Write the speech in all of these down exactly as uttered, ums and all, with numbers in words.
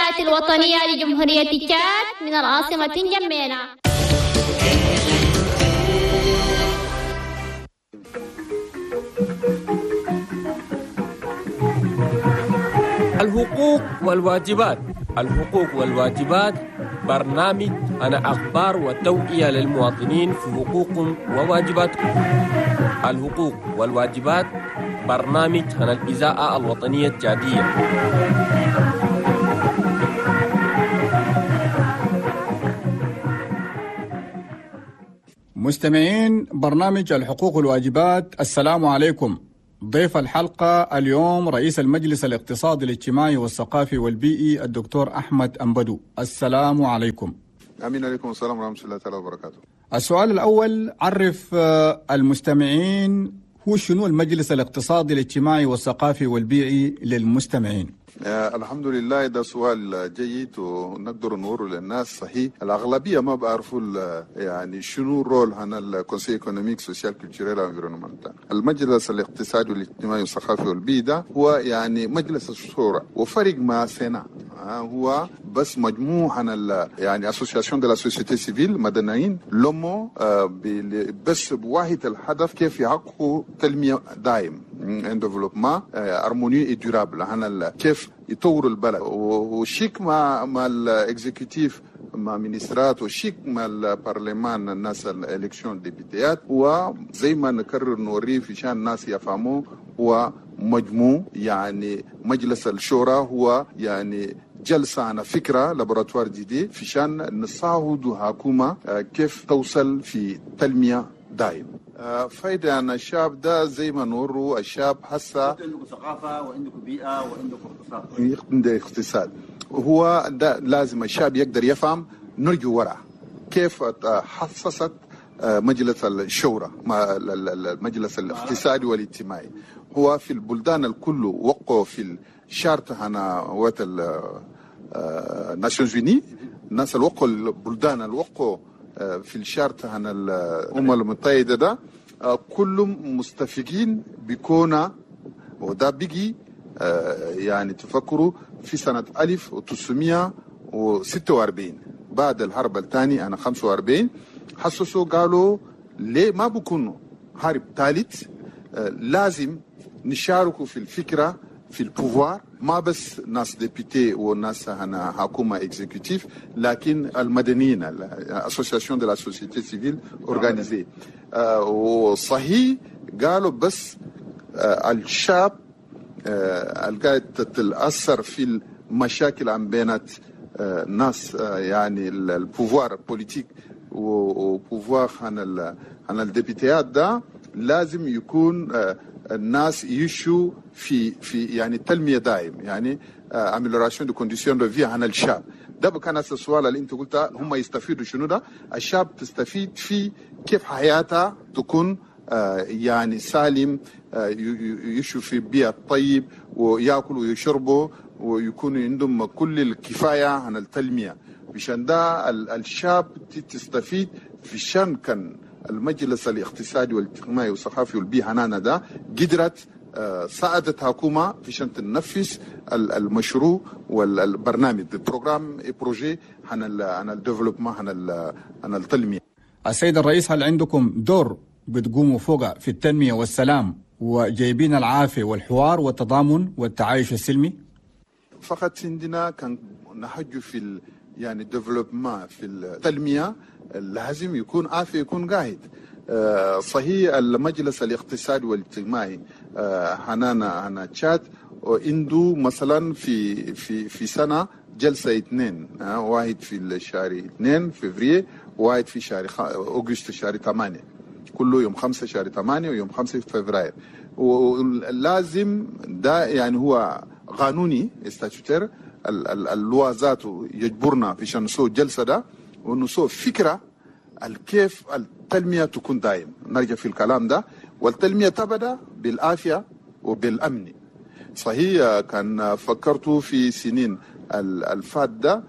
الإذاعة الوطنية لجمهورية تشاد من العاصمة جمينة. الحقوق والواجبات. الحقوق والواجبات برنامج أنا أخبار وتوعية للمواطنين في حقوقهم وواجباتهم. الحقوق والواجبات برنامج عن الإذاعة الوطنية التشادية. مستمعين برنامج الحقوق والواجبات، السلام عليكم. ضيف الحلقة اليوم رئيس المجلس الاقتصادي الاجتماعي والثقافي والبيئي الدكتور أحمد أمبدو. السلام عليكم. أمين عليكم السلام ورحمة الله تعالى وبركاته. السؤال الأول، عرف المستمعين هو شنو المجلس الاقتصادي الاجتماعي والثقافي والبيئي للمستمعين؟ آه الحمد لله، ده سؤال جيد ونقدر نوره للناس. صحيح الأغلبية ما بعرفوا يعني شنو rôle هنا ال conseil économique social culturel environnemental. المجلس الاقتصادي والاجتماعي والثقافي والبيئي ده هو يعني مجلس الشورى وفرق مع sénat، آه هو بس مجموعة عن يعني associations de la société civile مدنيين لمو آه بس بواحد الهدف كيف يحققوا تنمية دائم un développement harmonieux et durable، هنا كيف يطوروا البلد وشيك مع مع ال exécutif مع مينسترات وشيك مع البرلمان الناس ال élections ديبيتيات. وزي ما نكرر نوريه في شان الناس يفهموا، هو مجموع يعني مجلس الشورى هو يعني جلسة عن فكرة laboratoire d'idées في شان نساعد حكومة كيف توصل في تنمية دائم. فايدة عن الشعب ده زي ما نورو الشعب حسا عندكم ثقافة وعندكم بيئة وعندكم اقتصاد، عنده اقتصاد، هو ده لازم الشعب يقدر يفهم. نرجو وراء كيف حصصت مجلس الشورى المجلس الاقتصادي والاجتماعي. هو في البلدان الكل وقعوا في ال charte هنا وات ال Nations Unies، الناس اللي وقعوا البلدان اللي وقعوا في ال charte هنا الأمم المتحدة ده كلهم مستفيدين بكونا، وده بيجي يعني تفكروا في سنة ألف وتسعمائة وستة وأربعين بعد الحرب الثانية أنا خمسة وأربعين حسسوا قالوا ليه ما بكون حرب ثالث، لازم نشاركوا في الفكرة في ال pouvoir، ما بس ناس députés وناس هنا حكومة exécutif، لكن المدنيين associations de la société civile organisée. وصحيح قالوا بس الشعب القاعد تتأثر في المشاكل عن بينات ناس يعني ال pouvoir politique و pouvoir عن عن الديبيتيات ده لازم يكون الناس يشوا في في يعني تنمية دائم، يعني amélioration de conditions de vie عن الشعب. ده كان السؤال اللي انت قلت هم يستفيدوا شنو ده؟ الشعب تستفيد في كيف حياتها تكون يعني سالم، يشوا في بيئة طيب وياكلوا ويشربوا ويكون عندهم كل الكفاية عن التنمية. عشان ده الشعب تستفيد في شان كان المجلس الاقتصادي والاجتماعي والثقافي والبيئي هنانا ده قدرت ساعدت حكومة في شان تنفذ المشروع والبرنامج ال programme projet عن عن ال développement عن عن التنمية. السيد الرئيس، هل عندكم دور بتقوموا فوق في التنمية والسلام وجايبين العافية والحوار والتضامن والتعايش السلمي؟ فقط عندنا كان نحج في ال يعني développement في التنمية لازم يكون عافية يكون قاعد. صحيح المجلس الاقتصادي والاجتماعي هنانا هنا تشاد عنده مثلا في في في سنة جلسة اثنين، واحد في الشهر اثنين فبراير، واحد في شهر أغسطس شهر ثمانية، كله يوم خمسة شهر ثمانية ويوم خمسة فبراير. ولازم ده يعني هو قانوني statutaire، ال loi ذاته يجبرنا في شان نسو جلسة ده ونسو فكرة الكيف التنمية تكون دائم. نرجع في الكلام ده، والتنمية تبدأ بالعافية وبالأمن. صحيح كان فكرت في سنين الفات ده،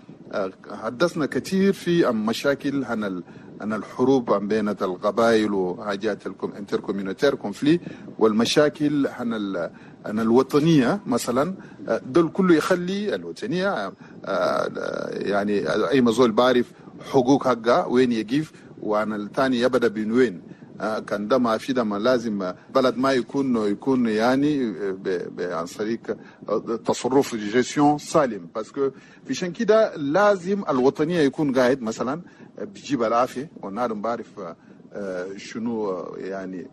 حدثنا كثير في مشاكل عن أن الحروب عن بين القبائل وحاجات ال intercommunautaires conflits والمشاكل عن عن الوطنية مثلا، دول كله يخلي الوطنية يعني أي مزول بعرف حقوق حقه وين يقف، وعن الثاني يبدأ بين وين. كان ده ما في ده ما لازم بلد ما يكون يكون يعني عن طريق تصرف gestion سالم، parce que في كده لازم الوطنية يكون قاعد مثلا بيجيب العافية، والنادم بعرف شنو يعني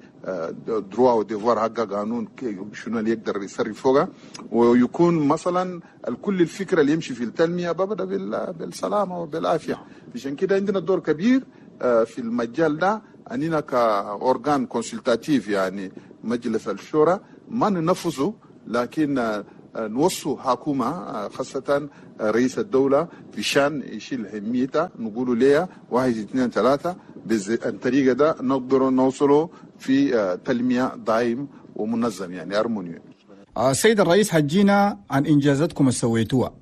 droits و devoirs حقه، قانون شنو اللي يقدر يصرف فوقه، ويكون مثلا الكل الفكرة اللي يمشي في التنمية ببدا بالسلامة وبالعافيه. عشان كده عندنا دور كبير في المجال ده، أننا ك organe consultatif يعني مجلس الشورى ما ننفذه، لكن نوصوا حكومة خاصة رئيس الدولة في شان يشيل هميته، نقولوا ليه واحد اثنين ثلاثة، بالطريقة ده نقدر نوصلوا في تنمية دائم ومنظم يعني harmonieux. السيد الرئيس، حجينا عن إنجازاتكم اللي سويتوها.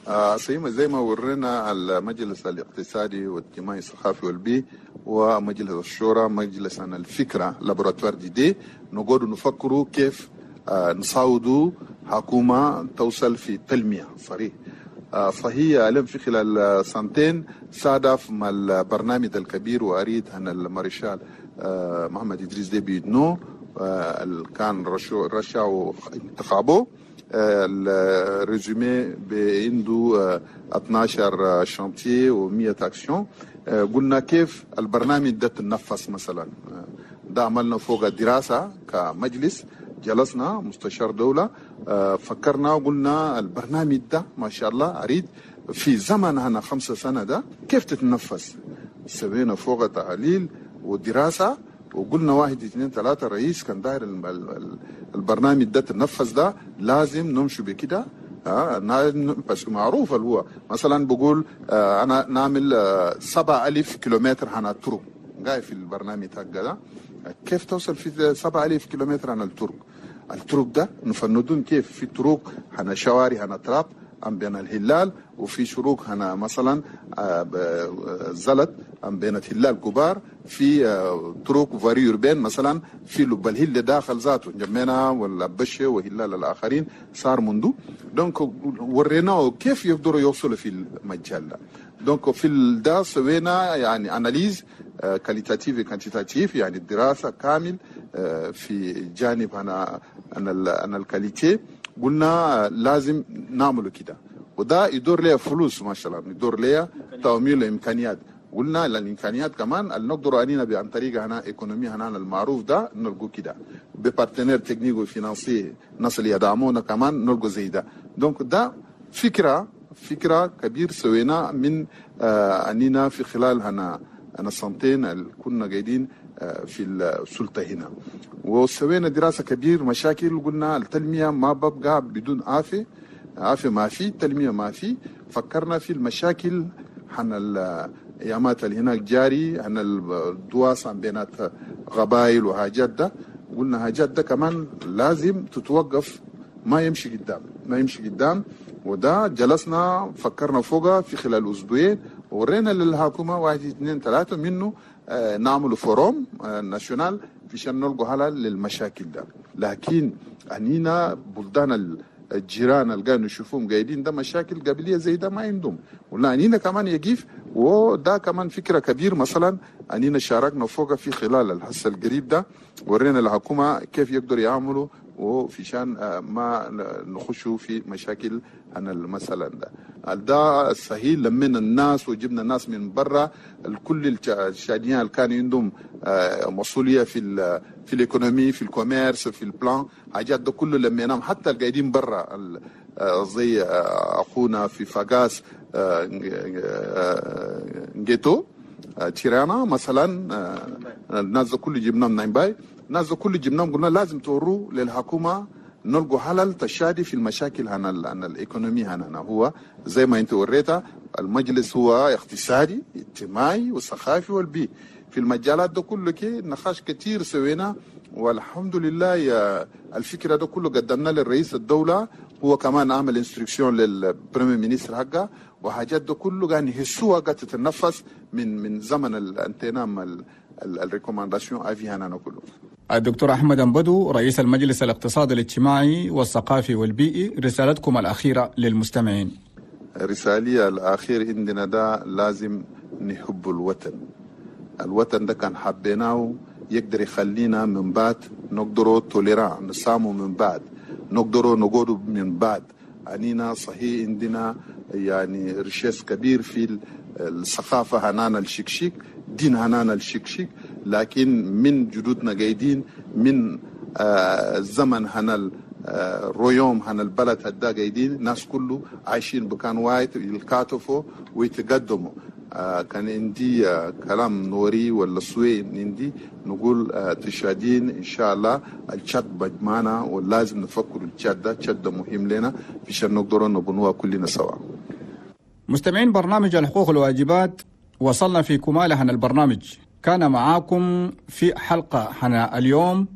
آه زي ما ورينا المجلس الاقتصادي والاجتماعي الثقافي والبيئي ومجلس الشورى، مجلس عن الفكرة laboratoire d'idées، نقعد نفكروا كيف آه نساعدوا حكومة توصل في التنمية صريح. آه فهي لم في خلال سنتين صادف مع البرنامج الكبير وأريد أن المارشال آه محمد إدريس ديبي إتنو آه كان رشا رشا انتخابه ال résumé عنده اثنا عشر chantiers ومية actions. قلنا كيف البرنامج ده تنفذ مثلا، ده عملنا فوق دراسة كمجلس، جلسنا مستشار دولة فكرنا وقلنا البرنامج ده ما شاء الله أريد في زمن هنا خمسة سنة ده كيف تتنفذ. سوينا فوق تحليل ودراسة وقلنا واحد اثنين ثلاثة، رئيس كان داير البرنامج ده تنفذ، ده لازم نمشي بكده. آه بس معروف اللي هو مثلا بقول آه انا نعمل آه سبعة ألف كيلومتر عن الطرق جاي في البرنامج ده، كيف توصل في سبعة ألف كيلومتر عن الطرق؟ الطرق ده نفندون كيف؟ في طرق هنا شوارع هنا تراب عن بين الهلال، وفي شروق هنا مثلا زلط عن بين الهلال كبار، في طرق voirie urbaine مثلا في لب الهل داخل ذاته جمينا والبشة وهلال الاخرين صار منذ. donc وريناه كيف يقدروا يوصلوا في المجال ده. donc في ده سوينا يعني analyse qualitative quantitative، يعني الدراسة كامل في جانب انا انا انا ال qualité، قلنا لازم نعمله كده، وده يدور لها فلوس ما شاء الله، يدور لها تمويل امكانيات. قلنا الامكانيات كمان اللي نقدر علينا عن طريق هنا économie هنا المعروف ده نلقوا كده ب partenaires techniques و financiers، الناس اللي يدعمونا كمان نلقوا زي ده. donc ده فكرة فكرة كبير سوينا من آه اننا في خلال هنا انا سنتين اللي كنا قاعدين آه في السلطة هنا، وسوينا دراسة كبير مشاكل، وقلنا التنمية ما ببقى بدون عافية، عافية ما في تنمية ما في. فكرنا في المشاكل حن الايامات اللي هناك جاري عن الدواس عن بينات قبائل وحاجات ده، قلنا حاجات ده كمان لازم تتوقف، ما يمشي قدام ما يمشي قدام. وده جلسنا فكرنا فوقها في خلال اسبوعين، ورينا للحكومة واحد اثنين ثلاثة منه آه نعمل forum آه national عشان نلقوا حل للمشاكل ده. لكن انينا بلدان الجيران اللي قاعدين نشوفهم قاعدين ده مشاكل قبليه زي ده ما عندهم، ولا انينا كمان يقيف. وده كمان فكرة كبير مثلا انينا شاركنا فوق في خلال الحصة القريب ده، ورينا الحكومة كيف يقدروا يعملوا وفي شان ما نخشوا في مشاكل عن المثلا ده. ده الصحيح لمينا الناس وجبنا الناس من برا، الكل الشاديين اللي كان عندهم مسؤولية في ال في ال économie في ال commerce في ال plan حاجات ده كله لميناهم، حتى القاعدين برا زي اخونا في فاقاس نجيتو تيرانا مثلا، الناس ده كله جبناهم نايمباي، الناس ده كله جبناهم قلنا لازم توروا للحكومة نلقوا حلل تشادي في المشاكل هنا هنا ال économie هنا. هو زي ما انت وريتها المجلس هو اقتصادي اجتماعي وثقافي والبيئي في المجالات ده كله كي نقاش كتير سوينا والحمد لله يا الفكرة ده كله قدمنا للرئيس الدولة، هو كمان عمل instruction لل premier ministre حقه، وحاجات ده كله قاعد يحسوها قاعد تتنفس من من زمن الانتنام ال recommandations à vie هنا كله. الدكتور أحمد أمبدو رئيس المجلس الاقتصادي الاجتماعي والثقافي والبيئي، رسالتكم الأخيرة للمستمعين. رسالة الأخير عندنا ده لازم نحب الوطن. الوطن ده كان حبيناه يقدر يخلينا من بعد نقدروا tolérants نسامو من بعد، نقدروا نقعدوا من بعد. أنينا صحيح عندنا يعني richesse كبير في الثقافة هنانا الشكشيك، دين هنانا الشكشيك، لكن من جدودنا قايدين من آه الزمن هنا ال royaume هنا البلد هدا قايدين، ناس كله عايشين بكان وايد يتكاتفوا ويتقدموا. آه كان عندي آه كلام نوري ولا سوي عندي نقول آه تشادين ان شاء الله التشاد بجمعنا، ولازم نفكر التشاد ده، التشاد ده مهم لنا عشان نقدر نبنوها كلنا سوا. مستمعين برنامج الحقوق والواجبات، وصلنا في كمال هنا البرنامج. كان معاكم في حلقة هنا اليوم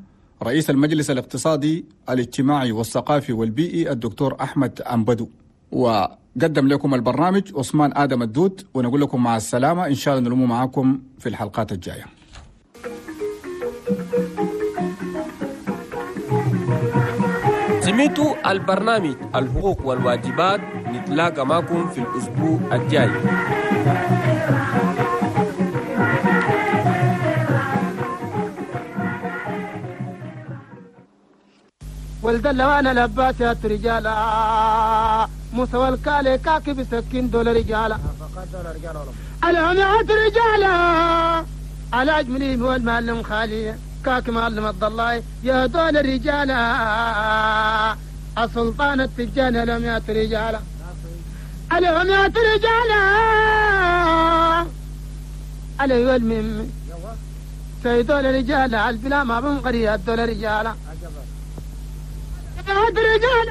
رئيس المجلس الاقتصادي الاجتماعي والثقافي والبيئي الدكتور أحمد أمبدو، وقدم لكم البرنامج عثمان آدم الدود، ونقول لكم مع السلامة، إن شاء الله نلوم معاكم في الحلقات الجاية. سمعتوا البرنامج الحقوق والواجبات، نتلاقى معكم في الأسبوع الجاي. ولد وانا لباسات رجالا موسى والكالي كاكي بسكين دول رجالا العميات رجالا على أجملي هو المعلم خالي كاكي معلم الضلاي يا دول الرجالا السلطان التجاني العميات رجالا العميات رجالا علي والمم سيدول رجالا البلا ما بنقري الدول رجالا رجال.